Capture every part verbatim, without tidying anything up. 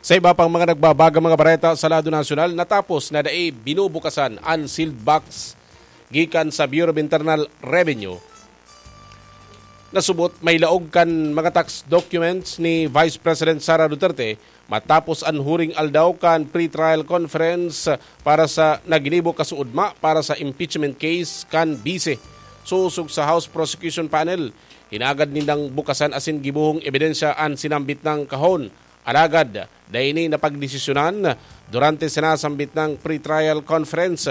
Sa iba pang mga nagbabagang mga bareta sa lado nasyonal, natapos na dai binubukasan an sealed box gikan sa Bureau of Internal Revenue. Nasubot, may laog kan mga tax documents ni Vice President Sara Duterte matapos an huring aldaw kan pre-trial conference para sa naginibo kasuodma para sa impeachment case kan bise. Sosog sa House Prosecution Panel, hinagad nindang bukasan asin gibohong ebidensya an sinambit nang kahon. Alagad, dai ini napagdesisyonan durante sinasambit nang pre-trial conference.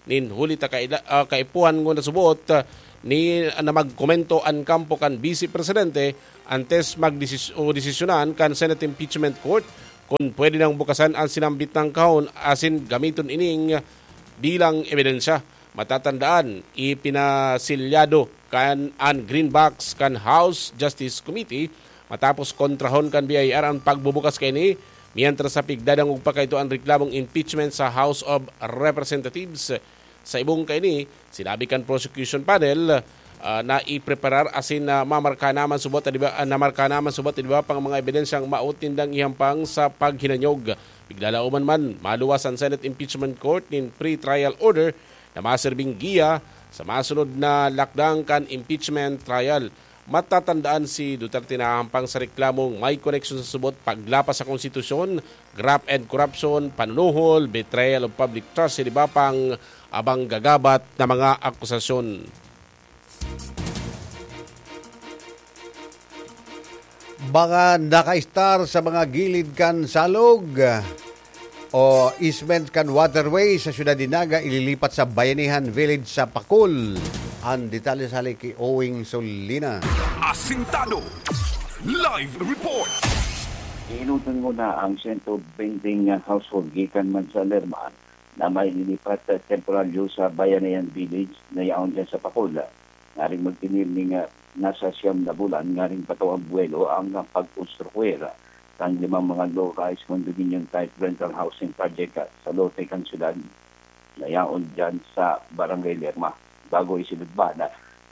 Nin huli ta kaila-, ah, kaipuhan ngunyan subot, ah, ni, na magkomento an kampo kan Vice Presidente antes magdesis-, o desisyonan kan Senate Impeachment Court kun pwede nang bukasan an sinambit nang kahon asin gamiton ining bilang ebidensya. Matatandaan, ipinasilyado kan an green box kan House Justice Committee matapos kontrahon kan B I R an pagbubukas kaini, mientras sa pigdadangog pa kaito an reklamong impeachment sa House of Representatives. Sa ibong kaini, sinabi kan prosecution panel, ah, na ipreparar asin na mamarka naman subot, di ba, ah, namarka naman subot, di ba, pang mga ebidensyang maot nindang ihampang sa paghinanyog. Piglalaoman man, maluwas an Senate Impeachment Court nin pre-trial order na maserbing giya sa masunod na lakdang kan impeachment trial. Matatandaan, si Duterte nahahampang sa reklamong may koneksyon sa subot paglapas sa konstitusyon, graft and corruption, panunuhol, betrayal of public trust, sa iba pang abang gagabat na mga akusasyon. Mga nakaistar sa mga gilid kan salog o easement kan waterway sa Siyudad de Naga ililipat sa Bayanihan Village sa Pacol. Ang detalye sa hali ki Owing Solina. Asintado. Live report. Inutan mo na ang sento benteng household gikan man sa Lerma na maililipat temporaryo sa Bayanihan Village na yaon dyan sa Pacol. Ngaring magtinir ning, ah, nasa siyam na bulan ngaring bato ang buwelo ang pagkonstruir kan limang mga low-rise condominium type rental housing project, ah, sa lote kan syudad na yaon dyan sa Barangay Lerma. Bago isinudbad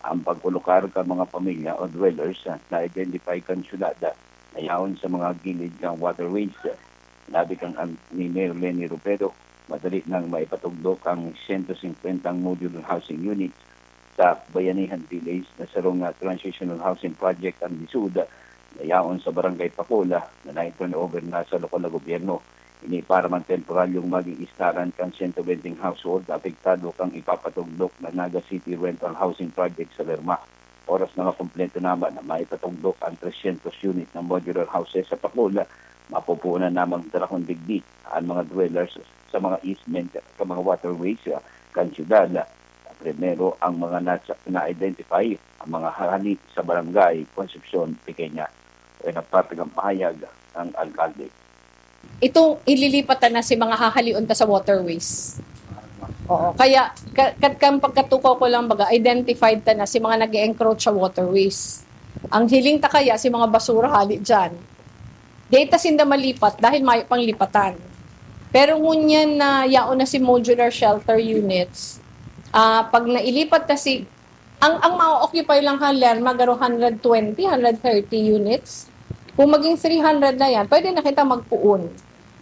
ang pagkolokar kan mga pamilya o dwellers, ah, na identify kan syudad, ah, na yaon sa mga gilid kan waterways. Labi kan an-, ni Mayor Leni Robredo, madali nang maipatugdok ang sento singkwentang modular housing units sa Bayanihan Village na sarong, ah, transitional housing project an lisod na yaon sa Barangay Pacol na nai-turnover na sa lokal na gobyerno. Ini para man temporaryong maging istaran kan sento benteng household na apektado kan ipapatugdok na Naga City Rental Housing Project sa Lerma. Oras na makumpleto naman na maipatugdok ang tresyentos unit na modular houses sa Pacol, mapupunan namang tarakon digdi ang mga dwellers sa mga easement sa mga waterways, ah, kan syudad. Primero ang mga nasa-, na-identify, ang mga hali sa barangay Concepcion Pequeña. Kaya nagpapig ang pahayag ng alkalde. Itong ililipat na si mga hahalion ta sa waterways. Oo, kaya ka-, kat-, kan pagkatukaw ko lang baga, identified ta na si mga nag-e-encroach sa waterways. Ang hiling ta kaya si mga basura hali dyan. Di ta sinda malipat dahil mayo pang lipatan. Pero ngunyan na yaon na si modular shelter units, ah, pag nailipat na si, ang, ang ma-occupy lang kan Lerma, garo hundred twenty, hundred thirty units. Kung maging three hundred na yan, pwede na kita magpuon.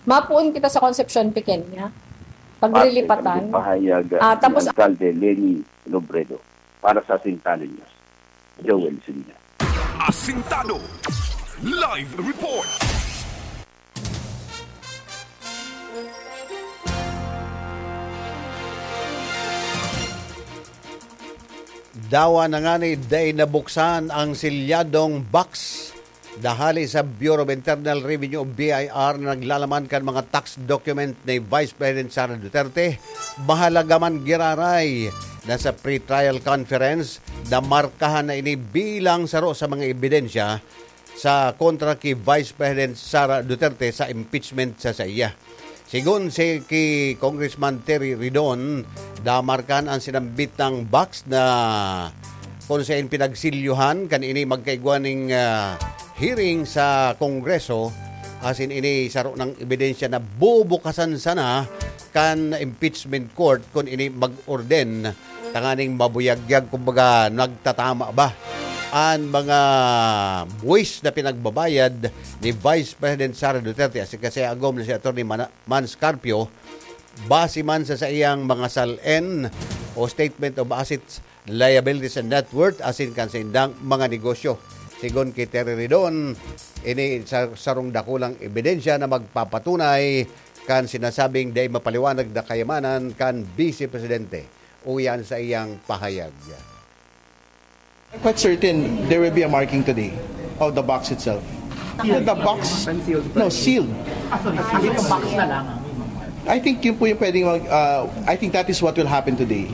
Mapuon kita sa Concepcion Pequeña. Paglilipatan. Pahayag, ah, ah, tapos ni Alcalde Leni Robredo. Para sa Asintado News, Joel Sinina. Asintado. Live report. Dawa na ngani dai nabuksan ang silyadong box dahali sa Bureau of Internal Revenue o B I R na naglalaman kan mga tax document ni Vice President Sara Duterte. Mahalaga man giraray na sa pre-trial conference, namarkahan na ini bilang saro sa mga ebidensya sa kontra ki Vice President Sara Duterte sa impeachment sa saiya. Sigon si ki Congressman Terry Ridon, namarkahan an sinambit na box na kun saen pinagsilyuhan kan ini magkaigwa ning, ah, hearing sa Kongreso, asin ini saro nang ebidensya na bubukasan sana kan impeachment court kun ini mag-orden tanganing mabuyagyag, kumbaga, nagtatama ba an mga buwis na pinagbabayad ni Vice President Sara Duterte, asin kasi agom na si Attorney Mana-, Mans Carpio, base man sa saiyang mga sal-en o statement of assets, liabilities and net worth, asin kan saindang mga negosyo. Sigon ki Terry Ridon, ini sa sarong dakulang ebidensya na magpapatunay kan sinasabing dai mapaliwanag na kayamanan kan Vice Presidente. Uyan sa iyang pahayag. I'm quite certain there will be a marking today of the box itself. The, the box, no, sealed. Ah, sorry, sealed box na lang. I think yun po yung pwedeng mag, uh, I think that is what will happen today.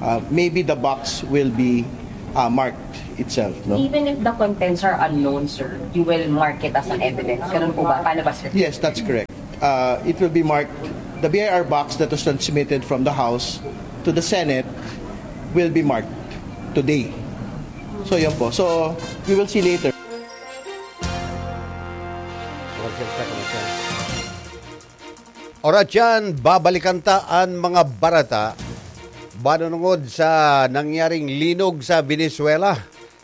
Uh, maybe the box will be uh, marked itself, no? Even if the contents are unknown, sir, you will mark it as an evidence. Ganun po ba? Paano ba, sir? Yes, that's correct. Uh, it will be marked, the B I R box that was transmitted from the House to the Senate will be marked today. So, yun po. So, we will see later. Oras yan, babalikan ta an mga barata manunungod sa nangyaring linog sa Venezuela.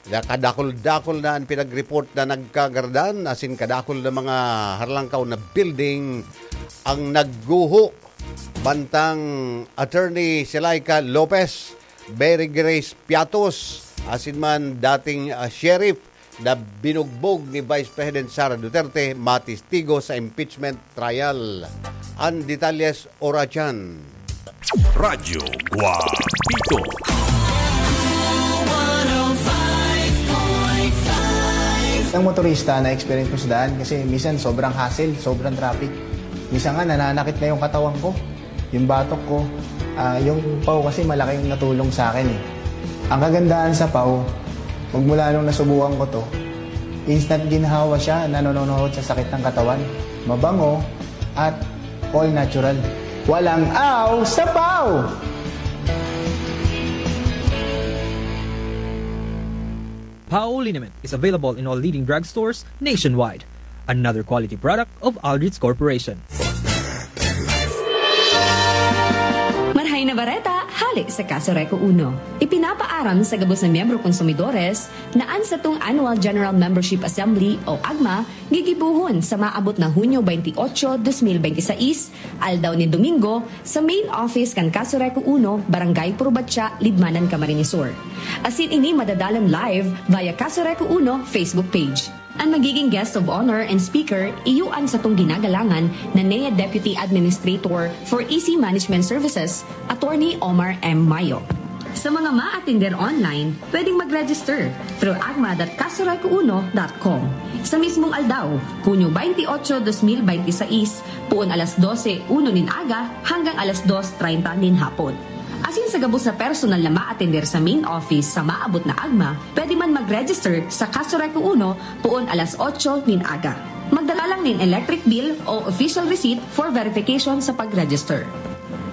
Kadakul-dakul na an pinag-report na nagkagaradan asin kadakul na mga harlangkaw na building ang nagguho. Bantang Attorney Silaika Lopez, Mary Grace Piatos, asin man dating ah, sheriff na binugbog ni Vice President Sara Duterte matistigo sa impeachment trial. An detalyes oras yan. Radyo Guapito. Ang motorista na experience ko sa daan kasi minsan sobrang hassle, sobrang traffic. Minsan nga nananakit na yung katawan ko, yung batok ko. Ah, yung pau kasi malaking natulong sa akin eh. Ang kagandahan sa pau, magmula nung nasubukan ko to, instant ginhawa siya, nanononohot sa sakit ng katawan. Mabango at all natural. Walang aw sa pau! Pau liniment is available in all leading drugstores nationwide. Another quality product of Aldrich Corporation. Marhay na bareta, hale sa Kaso Reco Uno. Ipinapaaram sa gabos na miyembro konsumidores na an satong Annual General Membership Assembly o agma gigibohon sa maabot na Hunyo twenty-eight, twenty twenty-six, aldaw nin Domingo, sa main office kan Kaso Reco Uno, Barangay Purubatya, Libmanan, Camarines Sur. Asin ini madadalan live via Kaso Reco Uno Facebook page. An magiging guest of honor and speaker, iyo an satong ginagalangan na N E A Deputy Administrator for E C Management Services, Attorney Omar M. Mayo. Sa mga maatender online, pwedeng mag-register through agma dot kasoreco uno dot com. Sa mismong aldaw, Hunyo twenty-eight, twenty twenty-six, poon alas dose uno nin aga hanggang alas dos treinta nin hapon. Asin sa gabos na personal na maatender sa main office sa maabot na agma, pwede man mag-register sa Kaso Reco Uno poon alas otso nin aga. Magdala lang nin electric bill o official receipt for verification sa pag-register.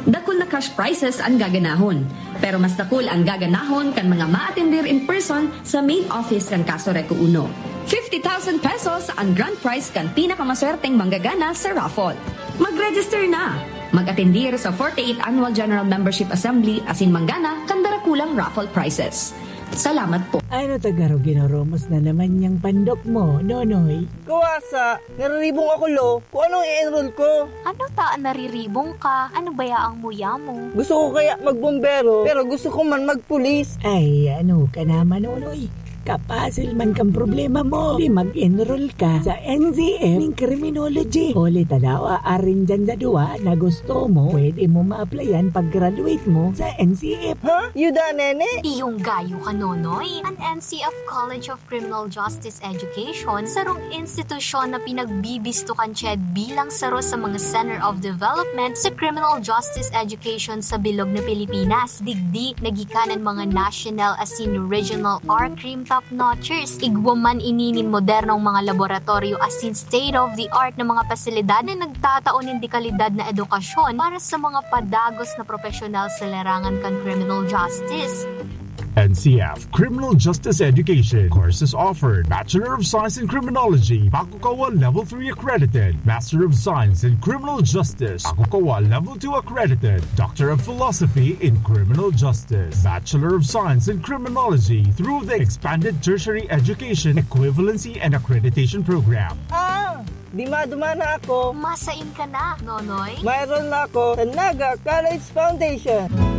Dakul na cash prizes an gaganahon, pero mas dakul an gaganahon kan mga maatender in person sa main office kan Kaso Reco Uno. Fifty thousand pesos an grand prize kan pinakamaswerteng manggagana sa raffle. Mag-register na! Mag-atendir sa forty-eight Annual General Membership Assembly asin manggana kan darakulang raffle prizes. Salamat po. Ano ta garo ginoromos na naman yang pandok mo, Nonoy? Kuwasa, nariribong ako, lo. Kung anong i-enroll ko? Ano ta an nariribong ka? Ano baya ang muya mo? Gusto ko kaya magbombero, pero gusto ko man magpulis. Ay, ano ka naman, Nonoy? Kapasil man kan problema mo, di mag-enroll ka sa N C F nin Criminology. Huli ta daw, aarin dyan sa duwa na gusto mo, pwede mo ma-applyan pag-graduate mo sa N C F. Ha? Yuda, nene? Iyong gayo ka, Nonoy. An N C F College of Criminal Justice Education, sarong institusyon na pinagbibisto kan CHED bilang saro sa mga Center of Development sa Criminal Justice Education sa bilog na Pilipinas. Digdi, nagikanan mga national asin regional or crime top notchers. Igwa man ini nin modernong mga laboratoryo asin state-of-the-art na mga pasilidad na nagtatao nin dekalidad na edukasyon para sa mga padagos na propesyonal sa larangan kan criminal justice. N C F, Criminal Justice Education. Courses offered: Bachelor of Science in Criminology, Pakukawa Level three accredited. Master of Science in Criminal Justice, Pakukawa Level two accredited. Doctor of Philosophy in Criminal Justice, Bachelor of Science in Criminology through the Expanded Tertiary Education Equivalency and Accreditation Program. Ah! Di maduman na ako. Masain ka na, Nonoy? Mayroon na ako sa Naga College Foundation.